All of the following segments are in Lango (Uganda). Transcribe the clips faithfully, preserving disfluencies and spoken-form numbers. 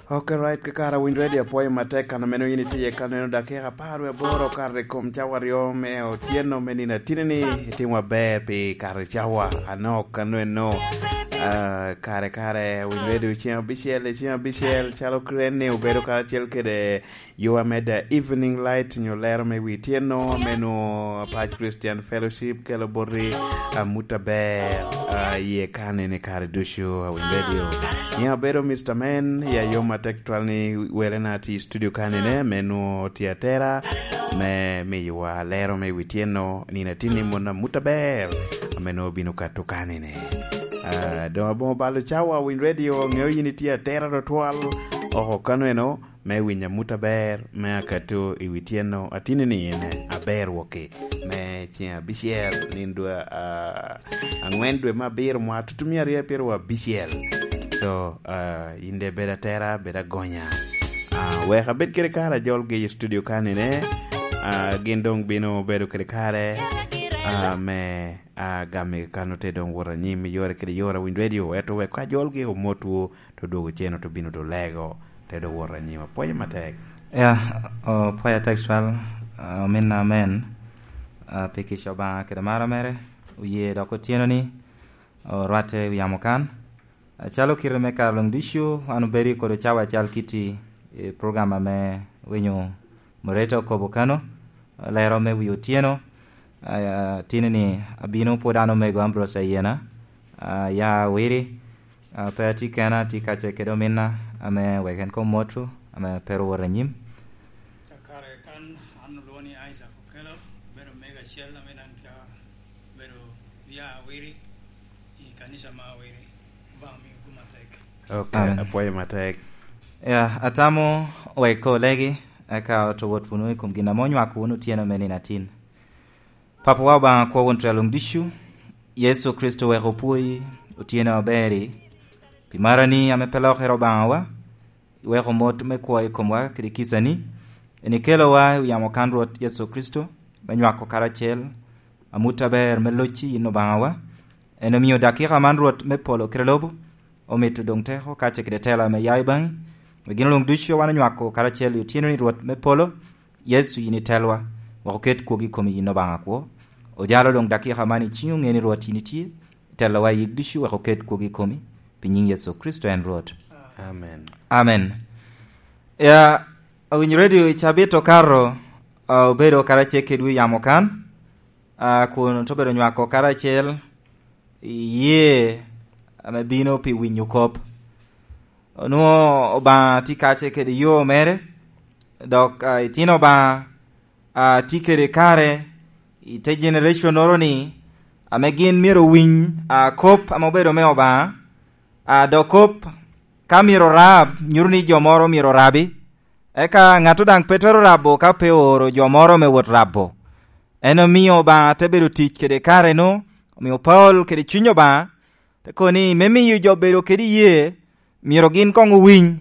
Ok, right, kakare Winy Radio, apwoyo matek kan omeno yin itye ka neno dakika apar wie aboro kare i kom cawa aryo me otyeno me nino atini-ni. Itimo aber pi kare cawa anok anweno. Ah, kare kare Winy Radio ceng abicel, ceng abicel, calo kren ni obedo karacel kede yo amedde Evening Light nyo lero me wi tyeno, meno Apac Christian Fellowship kelo boti amut aber, ah, iye kanene kare ducu, ah, Winy Radio. Ni abedo Mister Man, ya yo matek twal ni wele na ti studio kanene, meno ti atera, me miyowa lero me wi tyeno, nino atini mon amut aber, ameno bino kato kanene. Ah, doŋ aboŋo balo cawa Winy Radio, ŋeo yin itye atera tutwal, oko kanweno, me winyo amut aber me akato i wi tyeno atini ni en aber woki me ceng abicel, nino dwe, ah, angwen dwe me abiro mwa tutumia aryo apiro abicel. So, ah, in de bed atera, bed agonya. Ah, wek abed kede kare ajolgi i studio kanine, ah, gin doŋ bino bedo kede kare, ah, me, ah, gami kano te doŋ wot anyim i yore kede yore Winy Radio, ento wek ajolgi omotwu, to dwogo cen oto bino to lego, te do wot anyim. Apwoyo matek. Ya, o, apwoyo atek cwal, ah, ominna amen, ah, pi kica Obaŋa kede maro mere, oye dok otyeno ni, orwatte i wi yamo kan. Acalo kite me kare luŋ ducu, wan obedo i kodo cawa acal kiti i program ame winyo Mureta okobo kano, lero me wi otyeno. Ah, tini ni abino pwod an omego Ambrose Ayena, ah, ya Awiri, ah, pe atye kena, atye kacel kede ominna ame wek en kom motwu, ame pe owot anyim. Kakare kan an olwoŋo ni Isaac Okello, abedo omego acel ame daŋ tye obedo ya Awiri i kanisa ma Awiri. Obaŋa omiwu gum atek. Ok, amen. Apwoyo matek. Ya, atamo wek ko legi, eka oto wot wunu i kom gin ame onywako wunu otyeno me nino atin. Papawa Obaŋa, akwo won twe luŋ ducu, Yecu Kricito wek opwoyi otyeno aber-ri, pi marani ame pe lokere Obaŋawa, iweko mot me kwo i komwa kede kicani, en ikelowa i yamo kan Rwot Yecu Kricito, me nywako karacel amut aber me locci yin Obaŋawa. En omio dakika man Rwot me polo kede lobo, omito doŋ teko kacel kede tela ame ya i baŋi. Wek gin luŋ ducu wan onywako karacel i otyeno ni Rwot me polo, Yecu yin itelwa, wek oket kwogi i komi yin Obaŋa kwo. Ojalo doŋ dakika man i ciŋi, oŋe ni Rwot yin itye, itelowa i yik ducu wek oket kwogi i komi, pi nyiŋ Yecu Kricito en Rwot. Amen. Amen. Ya, Winy Radio i cabit okato, ah, obedo karacel kedwu i yamo kan, ah, kun oto bedo nywako karacel i yee ame bino pi winyo kop. Onwoŋo Obaŋa tye kacel kede yo mere, dok, ah, itino Obaŋa, ah, tye kede kare i te generation-noro ni, ame gin myero owiny, ah, kop ame obedo me Obaŋa, ah, dok kop ka myero orab, nyuto ni jo moro myero orabi. Eka ŋat daŋ pe twero rabo ka pe ooro jo moro me wot rabo. En omio Obaŋa te bedo tic kede kare-nu, omio Paulo kede Cuny Obaŋa te kobo ni me miyo jo bedo kede iyee, myero gin koŋ owiny.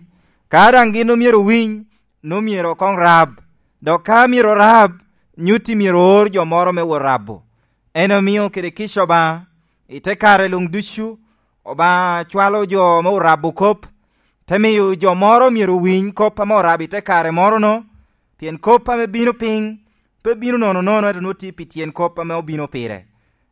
Ka daŋ gin omyero owiny, nwoŋo myero koŋ rab. Dok ka myero orab, nyutti myero oor jo moro me wot rabo. En omio kede kica Obaŋa, i te kare luŋ ducu, Obaŋa cwalo jo me orabo kop, te miyo jo moro myero owiny kop ame orabo i te kare moro-nu, pien kop ame bino piny pe bino nono nono, ento nwoŋo tye pi tyen kop ame obino pire.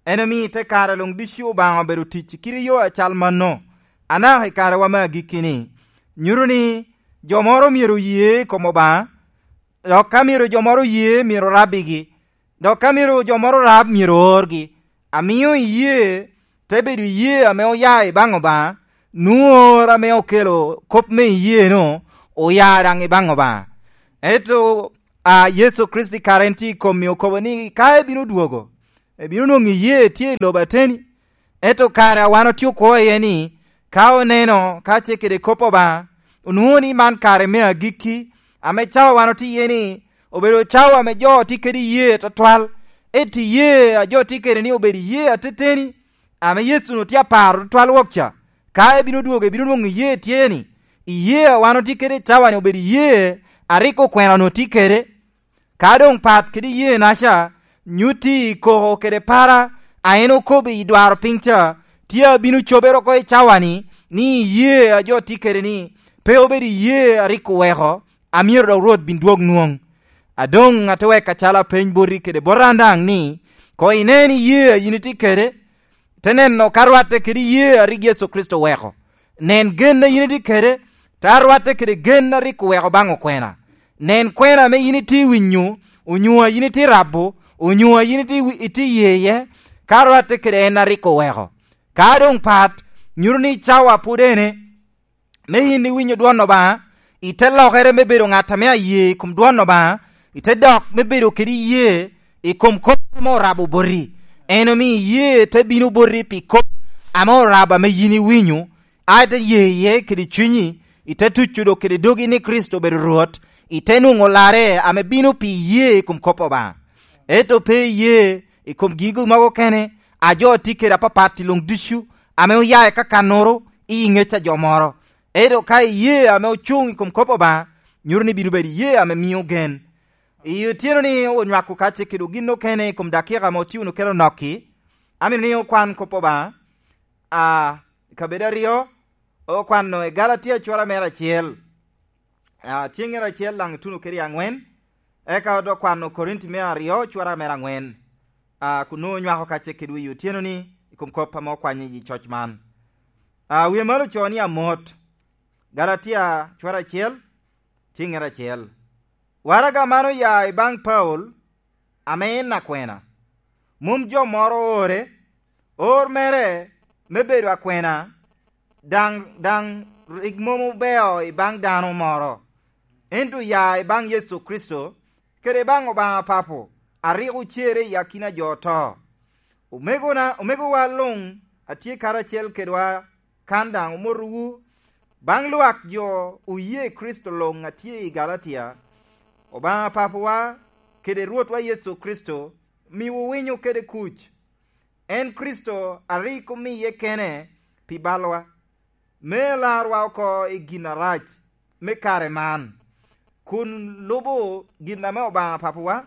En omio i te kare luŋ ducu Obaŋa obedo tic i kite yo acal mano, anaka i karewa me agikki-ni. Nyuto ni jo moro myero oye i kom Obaŋa, dok ka myero jo moro oye, myero orabbigi. Dok ka myero jo moro rab, myero oorgi. Amio iyee te bedo iyee ame oya i baŋ Obaŋa, nwoŋo or ame okelo kop me iyee-nu oya daŋ i baŋ Obaŋa. Ento, a, Yecu Kricito kare en tye i komi, okobo ni ka ebino dwogo, ebino nwoŋo iyee tye i lobo ateni. Ento kare a wan otye okwo iye ni, ka oneno ka tye kede kop Obaŋa, onwoŋo ni man kare me agikki, ame cawa wan otye iye ni, obedo cawa ame jo tye kede iyee atwatwal. Ento iyee a jo tye kede ni obedo iyee ateteni, ame Yecu onwoŋo tye aparo tutwal wok ca. Ka ebino dwogo, ebino nwoŋo iyee tye ni, iyee a wan otye kede i cawa-ni obedo iyee a rik okwena onwoŋo tye kede. Ka doŋ pat kede iyeenaca nyutti i koko kede para a en okobo i dwaro piny ca, tye abino cobere oko i cawa-ni, ni iyee a jo tye kede ni Pe obedo iyee a rik oweko, a myero dok Rwot bin dwog nwoŋ. A doŋ ate weko acalo apeny boti kede bot an daŋ ni, koŋ inen iyee a yin itye kede, te neno ka rwatte kede iyee a rik Yecu Kricito oweko. Nen gen a yin itye kede, te arwatte kede gen a rik oweko baŋ okwena. Nen kwena ame yin itye winyo, onyo a yin itye rabo, onyo a yin itye wi-, itye ye iye, ka rwatte kede en a rik oweko. Ka doŋ pat, nyuto ni cawa pwod ene, me yin iwinyo dwon Obaŋa, ite lokere me bedo ŋat ame aye i kom dwon Obaŋa, ite dok me bedo kede iyee i kom kop ame orabo boti. En omio iyee te bino boti pi kop ame orabo ame yin iwinyo, a ite ye iye kede cunyi, ite tuco dok kede dogi ni Kricito obedo Rwot, ite nwoŋo larre ame bino pi iyee i kom kop Obaŋa. Ento pe iyee i kom gigo mogo kene, a jo tye kede apapat i luŋ ducu, ame oya i kakannoro i ŋec a jo moro. Ento ka iyee ame ocuŋ i kom kop Obaŋa, nyuto ni bino bedo iyee ame mio gen. I otyeno ni onywako kacce kede gin okene i kom dakika ame otye wunu kede onokki, amito ni okwan kop Obaŋa, a, kabedo aryo, okwano i Galatia cura mere acel, a, tyeŋere acel daŋ ituno kede i aŋwen, eka odoŋ kwano Korinti me aryo cura mere aŋwen, a, kun nwoŋo onywako kacce kede wi otyeno ni i kom kop ame okwanye i coc man. A, wie malo ocoo ni amot, Galatia cura acel, tyeŋere acel. Waraga man oya i baŋ Paulo, ame en akwena. Mom jo moro oore, or mere me bedo akwena, daŋ, daŋ rik mom obeo i baŋ dano moro, ento oya i baŋ Yecu Kricito, kede i baŋ Obaŋa Papo, a rik ocere i akina jo oto. Omegona, omegowa luŋ a tye karacel kedwa kan daŋ omotowu, baŋ lwak jo oye Kricito luŋ a tye i Galatia. Obaŋa Papawa kede Rwotwa Yecu Kricito miwu winyo kede kuc. En Kricito a rik omiye kene pi balwa, me larwa oko i gin arac me kare man, kun lubo gin ame Obaŋa Papawa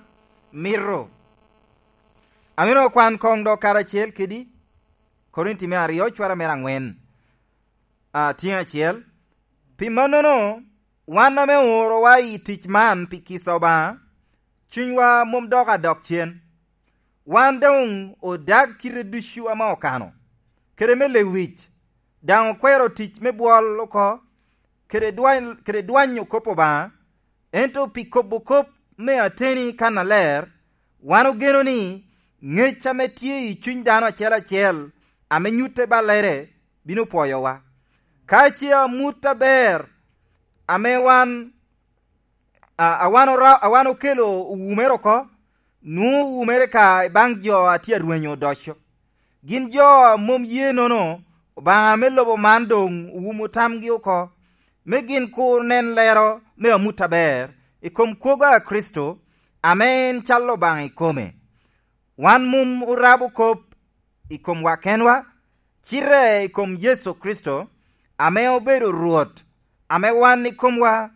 mito. Amito okwan koŋ dok karacel kedi, Korinti me aryo, cwara mere aŋwen, a, tyeŋ acel. Pi mannono, wan ame oorowa i tic man pi kica Obaŋa, cunywa mom dok adok cen. Wan doŋ odag kite ducu ame okano, kede me lewic, daŋ okwero tic me bwol oko, kede dwany-, kede dwanyo kop Obaŋa, ento pi kobo kop me ateni kannaler, wan ogeno ni ŋec ame tye i cuny dano acel acel ame nyutte ballere bino pwoyowa. Ka ce amut aber ame wan, a, a wan ora-, a wan okelo owumere oko, nwoŋo owumere ka i baŋ jo a tye arwenyo odoco. Gin jo a mom ye nono, Obaŋa me lobo man doŋ owumo tamgi oko, me gin kur nen lero me amut aber i kom kwogo a Kricito, ame en cal Obaŋa ikome. Wan mom orabo kop i komwa kenwa, cite i kom Yecu Kricito, ame obedo Rwot, ame wan ikomwa,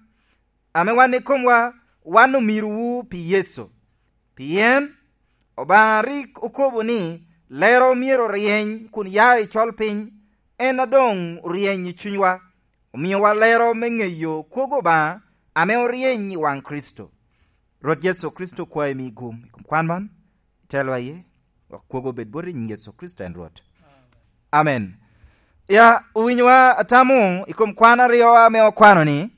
ame wan ikomwa, wan omirowu pi Yecu. Pien Obaŋa rik okobo ni, "Lero myero oryeny kun ya i col piny," en a doŋ oryeny i cunywa, omiowa lero me ŋeyo kwogo Obaŋa ame oryeny i waŋ Kricito. Rwot Yecu Kricito kwayo imi gum i kom kwan man, itelwa iye, wek kwogo obed boti i nyiŋ Yecu Kricito en Rwot. Amen. Ya, owinyowa atamo i kom kwan aryo ame okwano ni,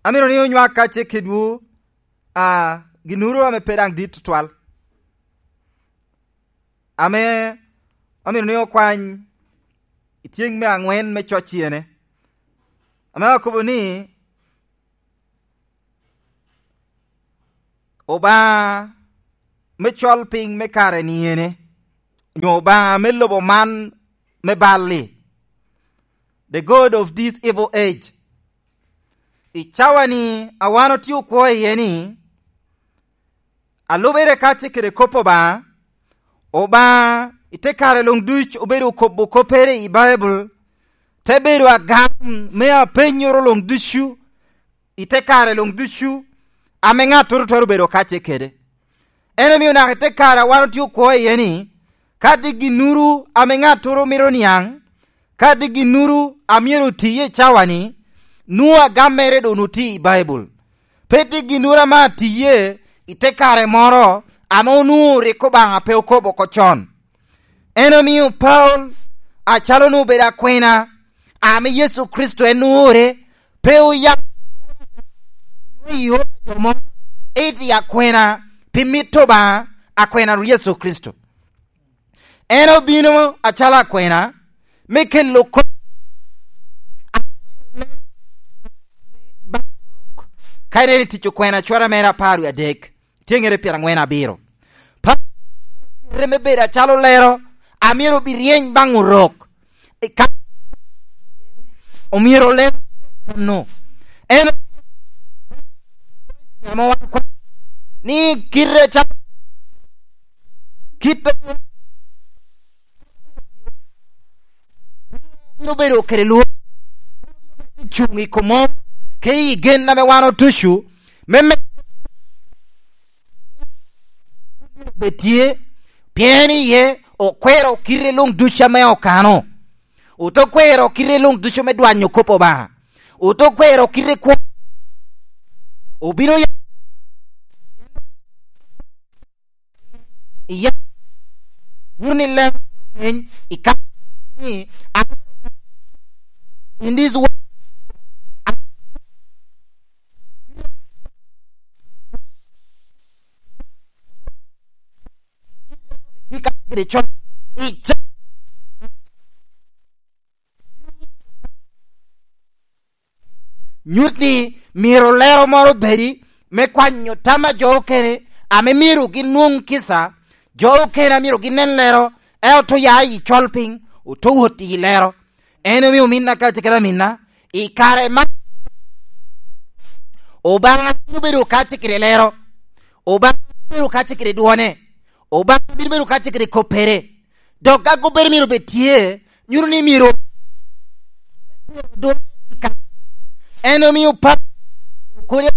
amito ni onywak kacce kedwu, a, ginnoro ame pe daŋ dit tutwal, ame amito ni okwany i tyeŋ me aŋwen me coc iyene, ame akobo ni, Obaŋa me col piny me kare ni ene, onyo Obaŋa me lobo man me bal-li, the God of this evil age. I cawa-ni a wan otye okwo iye ni, a lubere kacce kede kop Obaŋa, Obaŋa i te kare luŋ duc obedo okobo koppere i Baibul, te bedo agam me apenyoro luŋ ducu, i te kare luŋ ducu, ame ŋattoro twero bedo kacce kede. En omio naka i te kare a wan otye okwo iye ni, ka tye ginnoro ame ŋattoro mito niaŋ, ka tye ginnoro a myero oti iye i cawa-ni, nwoŋo agam mere doŋ otye i Baibul. Pe tye ginnoro ame atiye i te kare moro ame onwoŋo rik Obaŋa pe okobo oko con. En omio Paulo, acalo onwoŋo obedo akwena ame Yecu Kricito en oore, pe oya i oro jo mo, ento i akwena pi mit Obaŋa, akwena Yecu Kricito. En obino acalo akwena me kelo kop. Ka ineno i Tic Okwena cwara mere apar wie adek, tyeŋere pyerangwen abiro. Pa-, kite me bedo acalo lero, amyero obiryeny baŋ Orok. I ka-, omyero oler no. En amo wan kwa-, ni kite ca-, kite bino bedo kede lworo, cuŋ i kom mom, kede i gen ame wan otucu, me me-, bed tye, pien iye okwero kite luŋ ducu ame okano. Ote kwero kite luŋ ducu me dwanyo kop Obaŋa. Ote kwero kite kwo-, obino ya-, iya, wun i lem, i ka-, ni, in this world, i ka-, gire con, i ca-, nyut ni myero lero moro obedi me kwanyo tam a jo okene ame myero ginwoŋ kica, jo okene a myero ginen lero, ento oto ya i col piny, oto wot i lero. En omio ominna ka tye kede aminna, i kare man, Obaŋa bino bedo ka tye kede lero, Obaŋa bino bedo ka tye kede dwone, Obaŋa bino bedo ka tye kede koppere. Dok ka koppere myero bed tye, nyuto ni myero, en omio pa-, kodi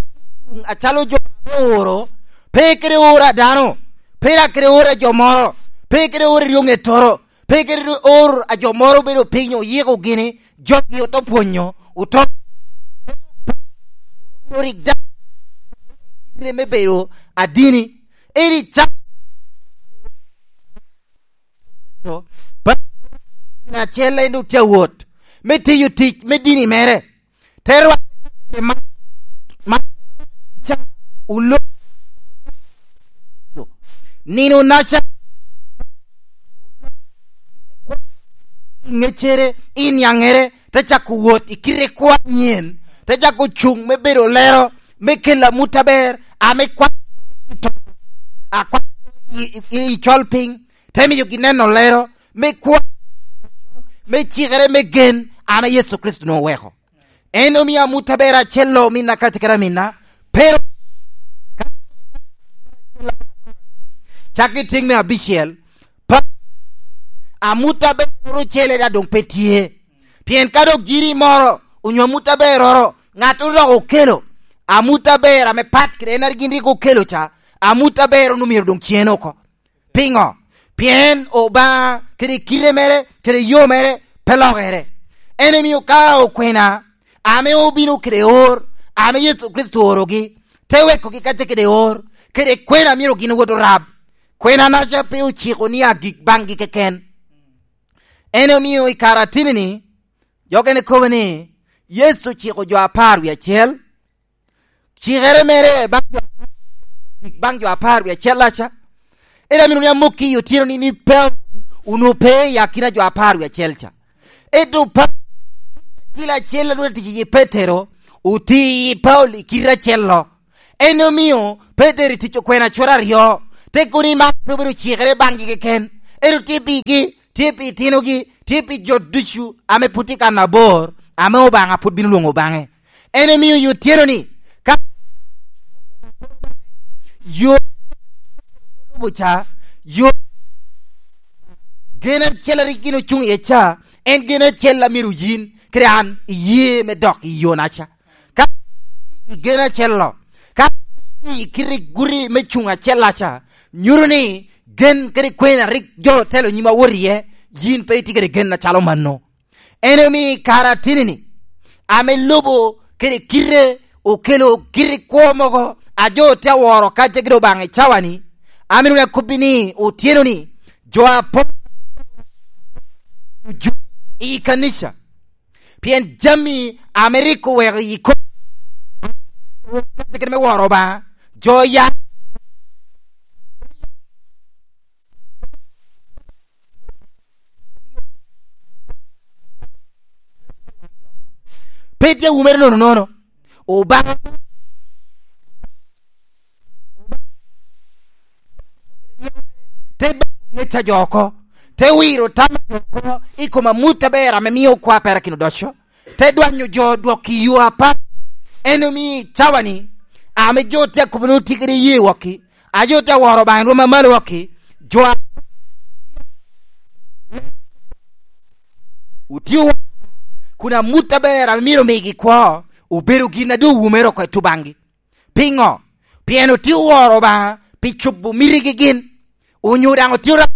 acalo jo ame ooro, pe kede oro a dano, pe dak kede oro a jo moro, pe kede oro i ryoŋettoro, pe kede oro a jo moro obedo piny oyiko gini, jogi oto pwonyo, oto rik da-, me bedo adini. Eri ca-, pa-, acel en doŋ tye awot me tiyo tic me dini mere. Te rwate ma, ma, ca, ulo-, nino naca, ŋecere, i niaŋere, te cako wot i kite kwo anyen, te cako cuŋ me bedo lero, me kelo amut aber, ame kwa-, akwa-, i, i, i col piny, te miyogi neno lero, me kwo-, me cikere, me gen, ame Yecu Kricito onwoŋo oweko. En omio amut aber acel-lo, ominna ka tye kede aminna, pero cak i tiŋ me abicel, pa-, amut aber ocele daŋ doŋ pe tye. Pien ka dok jiri moro onyo amut aberroro, ŋat odok okelo amut aber ame pat kede en a gin rik okelo ca, amut aber onwoŋo myero doŋ cen oko. Piŋo? Pien Obaŋa kede kite mere, kede yo mere pe lokere. En omio ka okwena ame obino kede or, ame Yecu Kricito oorogi, te wekogi ka tye kede or, kede kwena myero gin owot orab. Kwena naca pe ociko ni agik baŋgi keken. En omio i kare ateni-ni, jo okene kobo ni, Yecu ociko jo apar wie acel, cikere mere baŋ jo, baŋ jo apar wie acel-la ca. Ento amito ni amokki i otyeno-ni, ni Paulo onwoŋo pe i akina jo apar wie acel ca. Ento Paulo, acel acel a nwoŋo tic i Petero, oti i Paulo i kite acel-lo. En omio Petero i Tic Okwena cura aryo, te kono ni man pe obedo cikere baŋgi keken, ento tye pigi, tye pi itinogi, tye pi jo ducu ame pwod tye kan abor, ame Obaŋa pwod bino lwoŋo baŋe. En omio i otyeno-ni, ka yo lubo ca, yo gen acel a rik gin ocuŋ iye ca, en gen acel a myero yin kede an iye me dok i yo naca. Ka i gen acel-lo, ka i kite guti me cuŋ acel-la ca, nyuto ni gen kede kwena rik jo otelo nyim awot iye, yin pe itye kede gen acalo mano. En omio i kare ateni-ni, ame lubo kede kite okelo kite kwo mogo a jo tye aworo kacce kede Obaŋa i cawani. Amito ni akobbi ni otyeno-ni, jo apol i kanica, pien jami ame rik oweko i kom kacce kede me woro Obaŋa, jo ya pe tye wumere nono nono. Obaŋa te baŋo ŋec a jo oko, te wiro tam a jo oko i kom amut aber ame mio okwa perakino odoco, te dwanyo jo dwok i yo apat. En omio i cawani, ame jo tye akobo ni otye kede ye wokki, a jo tye aworo Obaŋa i rwom a malo wokki, jo a otio kun amut aber ame myero omigi kwo obedo gin a doŋ owumere oko i tubaŋgi. Piŋo? Pien otye oworo Obaŋa pi cobo mitigi gin, onyo daŋ otye ora-,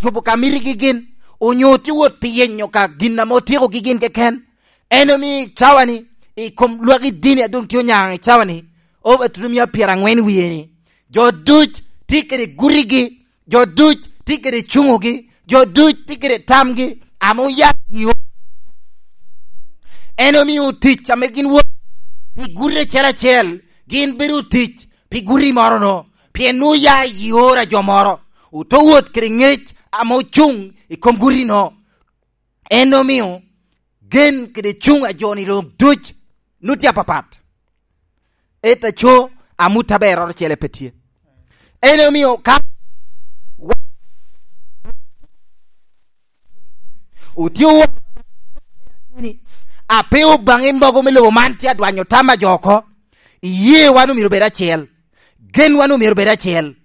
cobo ka mitigi gin, onyo otye wot pi yenyo ka gin ame otyekogi gin keken. En omio i cawani, i kom lwak i dini a doŋ tye onyaŋ i cawani, over two mia pyeraŋwen wie-ni, jo duc tye kede gutigi, jo duc tye kede cuŋogi, jo duc tye kede tamgi, ame oya i o-, en omio tic ame gin wot pi guti acel acel, gin bedo tic pi guti moro no, pien nwoŋo oya i oro a jo moro, oto wot kede ŋec ame ocuŋ i kom guti no. En omio gen kede cuŋ a jo-ni luŋ duc nwoŋo tye apapat. Ento aco, amut aberroro ocele pe tye. En omio ka otye oworo ni, ape Obaŋa i mogo me lobo man tye adwanyo tam a jo oko, iye wan omyero obed acel, gen wan omyero obed acel,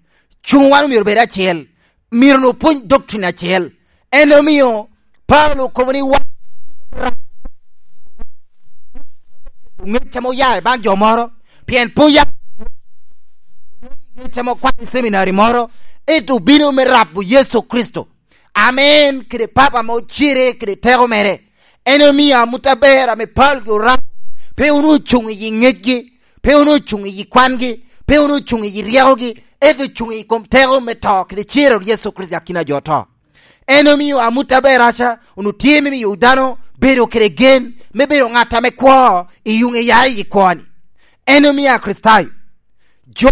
cuŋ wan omyero obed acel, myero onwoŋo opwony doctrine acel. En omio Paulo okobo ni wan ŋec ame oya i baŋ jo moro, pien pe oya ŋec ame okwano i seminari moro, ento obino me rabo Yecu Kricito, ame en kede Papa ame ocire kede teko mere. En omio amut aber ame Paulo gi Orabo pe onwoŋo ocuŋ i yi ŋecgi, pe onwoŋo ocuŋ i yi kwangi, pe onwoŋo ocuŋ i yi ryekogi, ento ocuŋ i kom teko me to kede cero Yecu Kricito i akina jo oto. En omio amut aberraca onwoŋo tye me miyo dano bedo kede gen me bedo ŋat ame kwo i yuŋ eya i kwo-ni. En omio Akricitayo, jo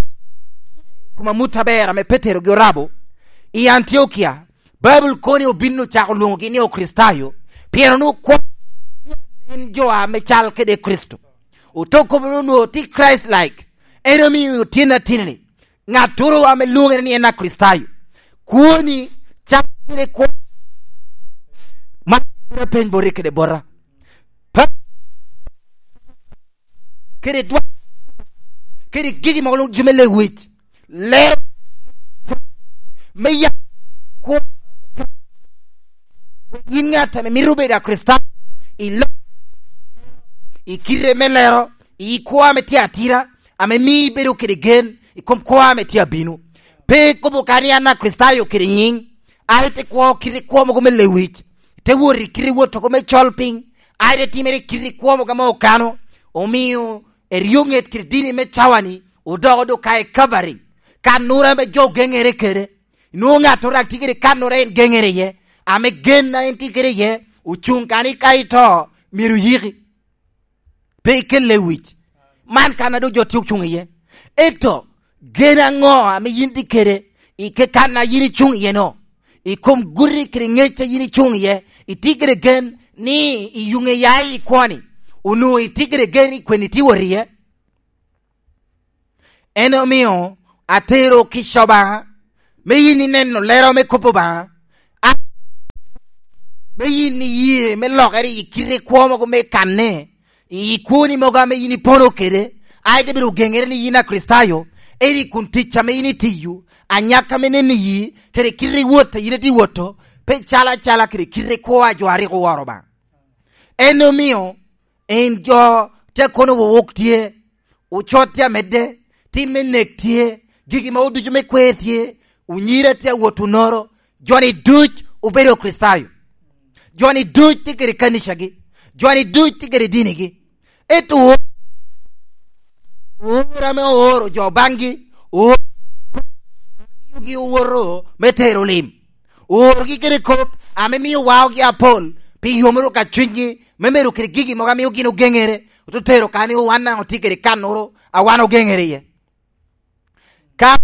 kom amut aber ame Petero gi Orabo i Antiokia, Baibul kono obin ocako lwoŋogi ni Okricitayo, pien onwoŋo kwo en jo ame cal kede Kricito. Oto kobo ni onwoŋo tye Christ-like, en omio tyen ateni-ni, ŋattoro ame lwoŋere ni en Akricitayo, kwoni cal kede kwo. Man bino peny boti kede bota. Pa-, kede dwa-, kede gigi mogo luŋ jo me lewic, lero me ya kwo. Yin ŋat ame mito bedo Akricitayo, i lo-, i kite me lero, i kwo ame tye atira, ame mio ibedo kede gen i kom kwo ame tye abino. Pe ikobo ka ni an Akricitayo kede nyiŋ, a ite kwo kite kwo mogo me lewic, ite wot i kite wot oko me col piny, a ite timere kite kwo mogo ame okano, omio eryoŋet kede dini me cawani odoko do ka i Kalvari, kannoro ame jo ogeŋere kede. Nwoŋo ŋattoro daŋ tye kede kannoro en geŋere iye, ame gen a en tye kede iye ocuŋ ka ni ka ito myero oyiki. Pe ikel lewic. Man kan a doŋ jo tye ocuŋ iye. Ento gen aŋo ame yin tye kede i ke kan a yin icuŋ iye-no? I kom guti kede ŋec a yin icuŋ iye, itye kede gen ni i yuŋ eya i kwo-ni, onwoŋo itye kede gen i kwene itye wot iye? En omio atero kica Obaŋa, me yin ineno lero me kop Obaŋa, a-, me yin iye me lokere i kite kwo mogo me kanne, i kwoni mogo ame yin ipono kede, a ite bedo ogeŋere ni yin Akricitayo, ento i kun tic ame yin itiyo, anyaka me neno iyi, kede kite i wot a yin itye woto, pe calo acala kede kite kwo a jo a rik oworo Obaŋa. En omio en jo tye kono wowok tye, ocot tye amedde, tim me nek tye, gigi mogo ducu me kwer tye, onyira tye awot onoro, jo-ni duc obedo Kricitayo. Jo-ni duc tye kede kanicagi, jo-ni duc tye kede dinigi. Ento oro ame ooro jo baŋgi, oro miogi owoto me tero lim, orogi kede kop ame mio waogi apol pi yomoro ka cunygi, me medo kede gigi mogo a mio gin ogeŋere, ote tero ka ni wan daŋ otye kede kannoro a wan ogeŋere iye. Ka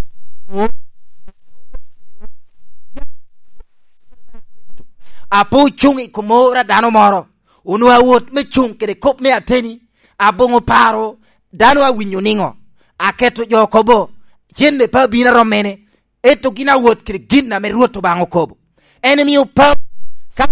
a pe ocuŋ i kom oro a dano moro, onwoŋo awot me cuŋ kede kop me ateni, aboŋo paro, dano awinyo niŋo, aketo jo kobo, cente pe abino arommene, ento gin awot kede gin ame Rwot Obaŋa okobo. En omio Paulo ka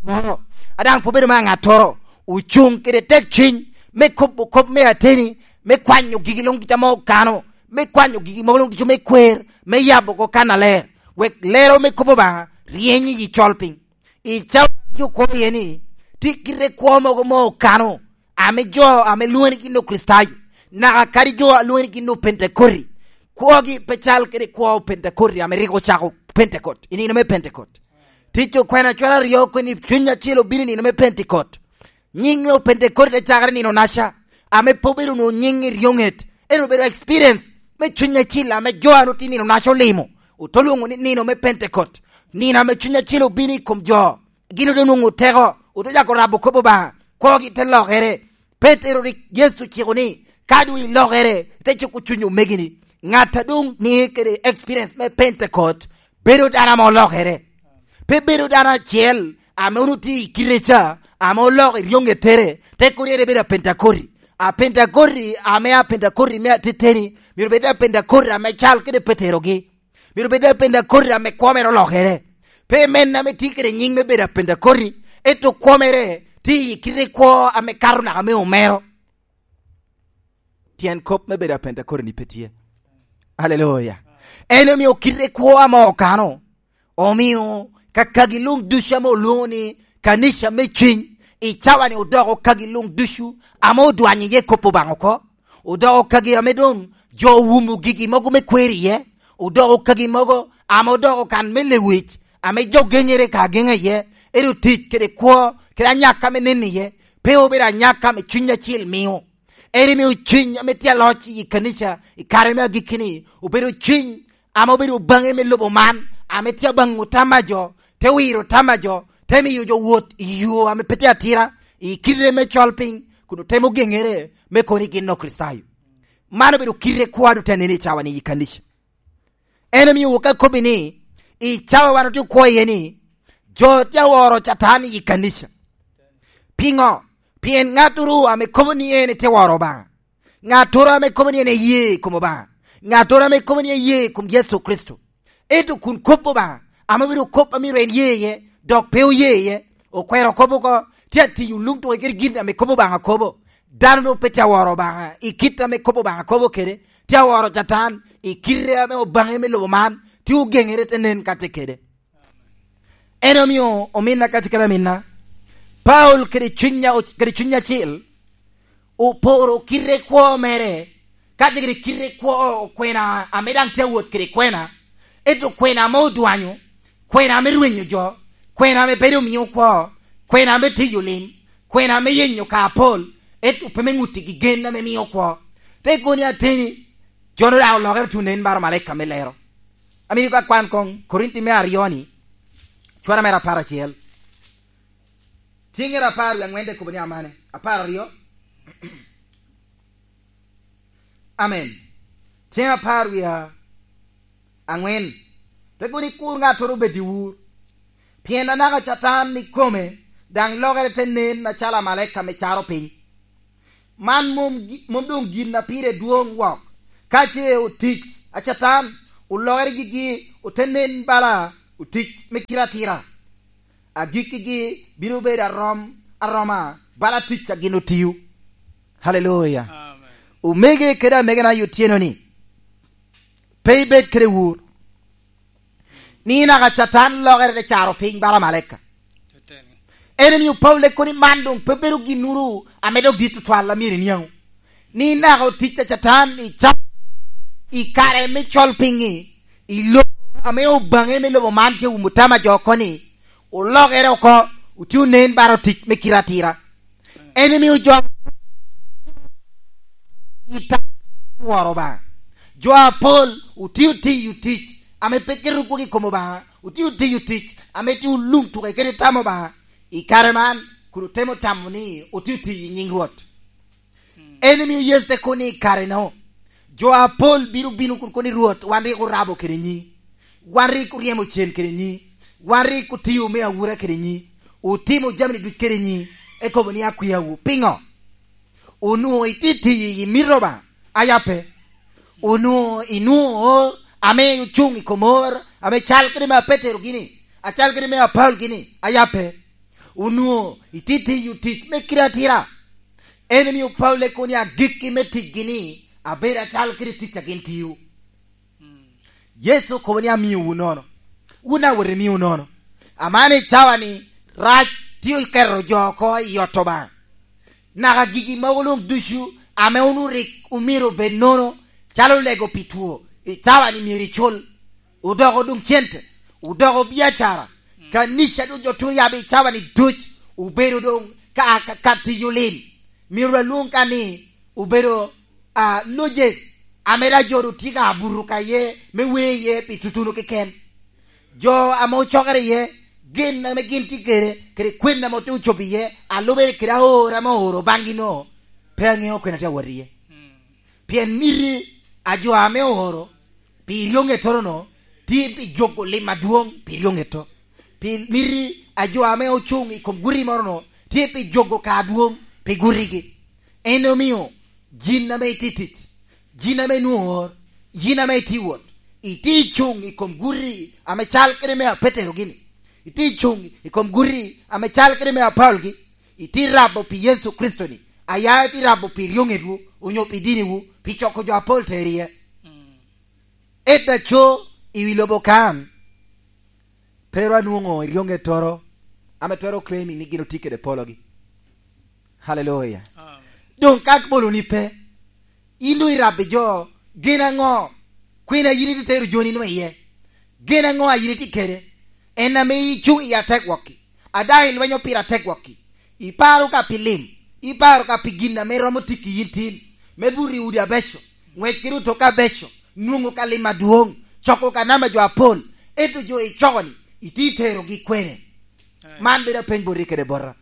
moro a daŋ pe obedo me aŋattoro, ocuŋ kede tek ciny me kobo kop me ateni, me kwanyo gigi luŋ ducu ame okano, me kwanyo gigi mogo luŋ ducu me kwer, me yabo oko kannaler, wek lero me kop Obaŋa ryeny i yi col piny. I cawa jo kwo iye ni, tye kite kwo mogo ma okano, ame jo ame lwoŋo ni gin Okricitayo, naka kadi jo a lwoŋo ni gin Opentekoti, kwogi pe cal kede kwo Opentekoti ame rik ocako Pentekot, i nino me Pentekot. Tic okwena cwero aryo kweni Cuny Acil obino i nino me Pentekot. Nyiŋ me Opentekot te cakere nino naca, ame pe obedo onwoŋo nyiŋ i ryoŋet, en obedo experience me Cuny Acil ame jo a nwoŋo tye nino naca olimo, ote lwoŋo ni nino me Pentekot, nino ame Cuny Acil obino i kom jo. Gin ote nwoŋo teko, ote cako rabo kop Obaŋa, kwogi te lokere. Petero rik Yecu ociko ni, "Ka doŋ ilokere, ite cuko cuny omegini." Ŋat a doŋ niŋe kede experience me Pentecost bedo dano ame olokere. Pe bedo dano acel ame onwoŋo tye i kite ca, ame oloko i ryoŋettere, te kono en ebedo Apentekoti. Apentekoti ame Apentekoti me ateteni myero bed Apentekoti ame cal kede Peterogi. Myero bed Apentekoti ame kwo mere olokere. Pe men ame tye kede nyiŋ me bedo Apentekoti, ento kwo mere tye i kite kwo ame kato naka me omero. Tyen kop me bedo Apentekoti-ni pe tye. Aleluya. En omio kite kwo ame okano, omio kakagi luŋ ducu ame olwoŋo ni kanica me ciny, i cawa-ni odoko kagi luŋ ducu ame odwanyo iye kop Obaŋa oko. Odoko kagi ame doŋ jo owumo gigi mogo me kwer iye. Odoko kagi mogo ame odoko kan me lewic, ame jo genyere ka ageŋa iye, ento tic kede kwo, kede anyaka me neno iye, pe obedo anyaka ame Cuny Acil mio. En omio cwiny ame tye aloc i kanica i kare me agikki-ni obedo cwiny ame obedo baŋe me lobo man, ame tye abaŋ otamo a jo, te wiro tam a jo, te miyo jo wot i yo ame pe tye atira, i kite me col piny, kun otemo geŋere me kono i gin Okricitayo. Man obedo kite kwo a doŋ tye anen i cawa-ni i kanica. En omio wok akobbi ni, i cawa wan otye okwo iye ni, jo tye aworo Catan i kanica. Piŋo? Pien ŋattoro ame kobo ni en tye woro Obaŋa, ŋattoro ame kobo ni en eye i kom Obaŋa, ŋattoro ame kobo ni eye i kom Yecu Kricito, ento kun kop Obaŋa, ame obedo kop a myero en ye iye, dok pe oye iye, okwero kop oko, tye atiyo luŋ tuko kede gin ame kop Obaŋa kobo. Dano-nu pe tye aworo Obaŋa i kit ame kop Obaŋa kobo kede, tye aworo Catan i kite ame obaŋe me lobo man, tye ogeŋere te nen ka tye kede. En omio ominna kacel kede aminna, Paulo kede Cuny a-, kede Cuny Acil oporo kite kwo mere, kacel kede kite kwo okwena ame daŋ tye awot kede kwena, ento kwena ame odwanyo, kwena ame rwenyo jo, kwena ame bedo omio kwo, kwena ame tiyo lim, kwena ame yenyo ka apol, ento pe me ŋuttigi gen ame mio kwo. Te koni ateni, jo-nu daŋ olokere tuŋ nen baro malaika me lero. Amito ka kwan koŋ Korinti me aryo-ni, cwara mere apar acel. Cingere apar wie aŋwen te kobo ni amane. Apar aryo. Amen. Cing apar wie aŋwen. Te kono ni kur ŋattoro bed i wur. Pien anaka Catan ikome daŋ lokere te nen acalo amalaika ame caro piny. Man mom gi-, mom doŋ gin a pire dwoŋ wok. Ka ce otic a Catan olokere gigi, ote nen bala otic me kite atira. Agikkigi bino bedo arom, aroma bala tic a gin otio. Haleluya. Amen. Omege kede amegena i otyeno-ni, pe ibed kede wur. Ni naka Catan lokere te caro piny bala malaika. En omio Paulo leko ni man doŋ pe bedo ginnoro ame dok dit tutwal a myero iniaŋ. Ni naka otic a Catan i ca-, i kare me col piny-ŋi, i lobo ame obaŋe me lobo man tye wumo tama jo oko ni, olokere oko, otye onen baro tic me kite atira. En omio jo i tam woro Obaŋa. Jo apol otio tiyo tic ame pe keto kwogo i kom Obaŋa, otio tiyo tic ame tye oluŋ tuke kede tam Obaŋa. I kare man, kun otemo tamo ni otio tiyo i nyiŋ Rwot. En omio Yecu te kobo ni i kare-nu, jo apol bino bino kun kobo ni, "Rwot, wan rik orabo kede nyi, wan rik oryemo cen kede nyi, wan rik otio me awura kede nyi, otimo jami duc kede nyi, ekobo ni akwiawu. Piŋo? Onwoŋo itye tiyo i mito Obaŋa, aya pe? Onwoŋo inwoŋo ame ocuŋ i kom or ame cal kede me Petero gini, acal kede me Apaulo gini, aya pe? Onwoŋo itye tiyo tic me kite atira?" En omio Paulo ekobo ni agikki me ticgi ni abedo acalo kede tic a gin tio. Yecu okobo ni, "Amiowu nono, wun awot imio nono." Aman i cawa-ni, rac tye oketo jo oko i ot Obaŋa. Naka gigi mogo luŋ ducu ame wun rik omyero obed nono, calo lego pi two, i cawa-ni myero icul. Odoko doŋ cente, odoko biacara. Kanica doŋ jo tun yabo i cawa-ni duc, obedo doŋ ka, ka, ka tiyo lim. Myero alwoŋ ka ni obedo, a, lodges, ame daŋ jo doŋ tye ka buto ka iye, me wer iye pi tutuno keken. Jo ame ocokere iye, gin ame gin tye kede, kede kwen ame ote ocobo iye, a lubere kede aor ame ooro baŋgi-no, pe aŋeo kwen a tye awot iye. Pien miti a jo ame ooro pi ryoŋettoro-nu tye pi jogo lim adwoŋ pi ryoŋetto. Pi miti a jo ame ocuŋ i kom guti moro-nu tye pi jogo ka adwoŋ pi gutigi. En omio yin ame itye tic, yin ame inwoŋo oor, yin ame itye wot, itye icuŋ i kom guti ame cal kede me Apetero gini, itye icuŋ i kom guti ame cal kede me Apaulo gi, itye rabo pi Yecu Kricito-ni, aya itye rabo pi ryoŋetwu, onyo pi diniwu, pi coko jo apol tero iye. Ento aco i wi lobo kan, pe ru anwoŋo eryoŋettoro ame twero claiming ni gin otye kede pologi. Haleluya. Amen. Doŋ ka boloni pe, in doŋ irabbi jo, gin aŋo? Kwena yin itye tero joni nwa iye? Gin aŋo a yin itye kede? En ame icuŋ i ategwokki, a daŋ ilwenyo pire ategwokki. Iparo ka pi lim, iparo ka pi gin ame romo tiki yin tin, me buto i udi abeco, ŋwec kede otoka abeco, nwoŋo ka lim adwoŋ, coko ka namba jo apol, ento jo icoko-ni, itye terogi kwene? Man bedo apeny boti kede bota.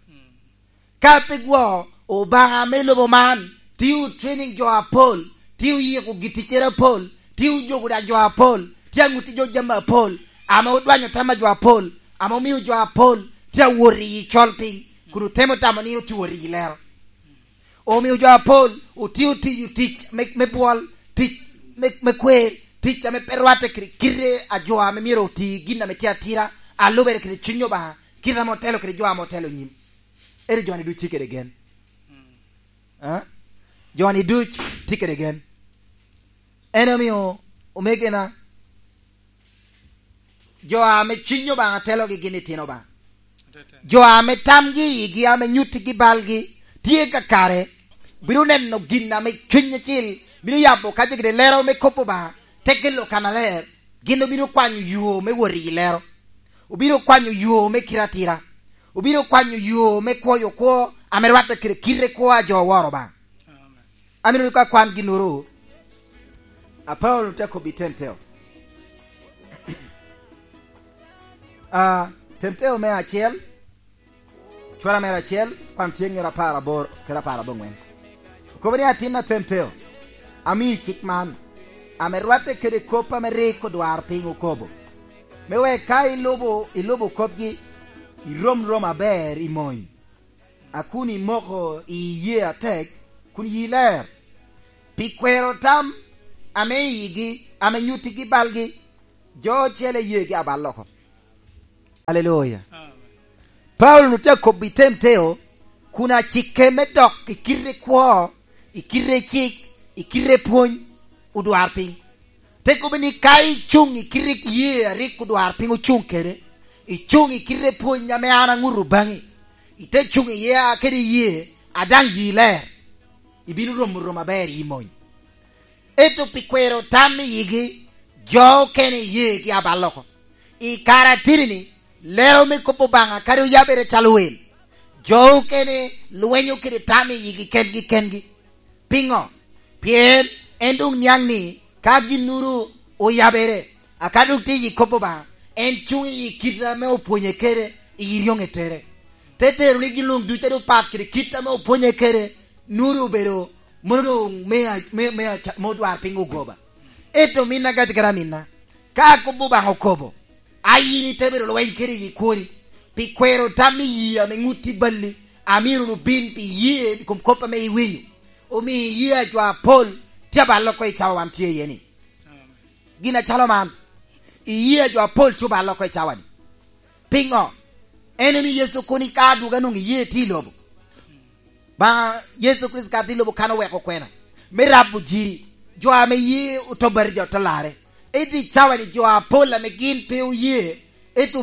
Ka pe gwo, Obaŋa me lobo man tye otraining jo apol, tye oyiko giticcere apol, tye ojogo daŋ jo apol, tye aŋuti jo jami apol, ame odwanyo tam a jo apol, ame omio jo apol tye awot i col piny, kun otemo tamo ni otye wot i lero. Omio jo apol otye otiyo tic me, me bwol, tic me, me kwer, tic ame pe rwatte kede kite a jo ame myero oti gin ame tye atira, a lubere kede cuny Obaŋa, kite ame otelo kede jo ame otelo nyim. Ento jo-ni duc tye kede gen. A? Jo-ni duc tye kede gen. En omio, omegena, jo ame cuny Obaŋa telogi gin itino Obaŋa. Jo ame tamgi i yigi, ame nyuttigi balgi tye kakare, bino neno gin ame Cuny Acil bino yabo ka jegede lero me kop Obaŋa, te kelo kannaler, gin obino kwanyo yo me wot i lero. Obino kwanyo yo me kite atira. Obino kwanyo yo me kwoyo kwo ame rwatte kede kite kwo a jo oworo Obaŋa. Amen. Amito ni ka kwan ginnoro, a Paulo te kobbi Temteo. A, Temteo me acel, cwara mere acel, kwan tye ŋero apar aboro kede apar aboŋwen. Okobo ni, "Atin a Temteo, amii cik man, ame rwatte kede kop ame rik odwar piny okobo, me wek ka ilubo, ilubo kopgi, irom rom aber i mony, a kun imoko i iyee atek, kun yi ler, pi kwero tam ame i yigi, ame nyuttigi balgi, jo ocele yeegi abal oko." Aleluya. Amen. Paulo tye akobbi Temteo, kun acikke me dok i kite kwo, i kite cik, i kite pwony, odwar piny. Te kobbe ni, "Ka icuŋ i kite ye a rik odwar piny ocuŋ kede, icuŋ i kite pwony ame an aŋuto baŋi, ite cuŋ iye a kede ye, a daŋ yi ler, ibino romo romo aber i mony. Ento pi kwero tam i yigi, jo okene iyeegi abal oko." I kare ateni-ni, lero me kop Obaŋa kadi oyabere calo wel, Jo okene lwenyo kede tam i yigi kengi kengi. Piŋo? Pien en doŋ niaŋ ni ka ginnuru oyabere, aka doŋ tye i kop Obaŋa, en cuŋ i kit ame opwonye kede i ryoŋetere. Te tero ni gin luŋ ducu a doŋ pat kede kit ame opwonye kede, nwoŋo doŋ obedo mono doŋ me, me, me, me odwar piny ogoba. Ento min agati kede aminna, ka kop Obaŋa okobo, a yin ite bedo lweny kede i kwoni, pi kwero tam i yie ame ŋutti balli, amiro wunu bin pi iyee i kom kop ame iwinyo, omio iyee a jo apol tye aballe oko i cawa wan tye iye-ni. Gin acalo man, iyee a jo apol tye oballe oko i cawa-ni. Piŋo? En omio Yecu kono ka adwogo anwoŋo iyee tye i lobo. Ba Yecu Kricito ka tye i lobo kan oweko kwena me rabo jiri, jo ame ye otobere jo te larre. Ento i cawa-ni jo apol ame gin pe oye, ento